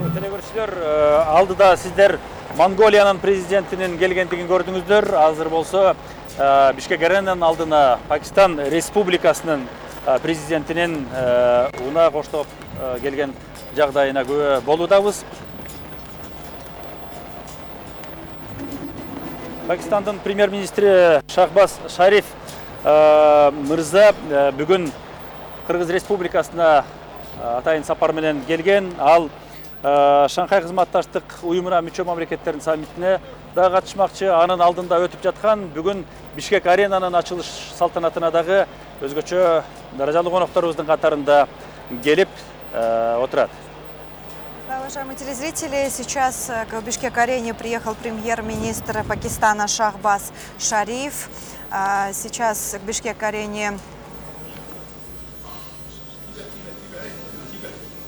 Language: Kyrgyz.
Телекөрүүчүлөр, алдыда сиздер Монголиянын президентинин келгендигин көрдүңүздөр. Азыр болсо Бишкек Аренанын алдына Пакистан Республикасынын президентинин унаа коштоп келген жагдайына күбө болуудабыз. Пакистандын премьер-министри Шахбаз Шариф мырза бүгүн Кыргыз Республикасына атайын сапар менен келген. Ал Шанхай кызматташтык уюмуна мүчө мамлекеттердин саммитине да катышмакчы. Анын алдында өтүп жаткан бүгүн Бишкек Аренанын ачылыш салтанатына дагы өзгөчө даражалуу конокторубуздун катарында келип отурат. Уважаемые телезрители, сейчас к Бишкек-Арене приехал премьер-министр Пакистана Шахбаз Шариф. Сейчас к Бишкек-Арене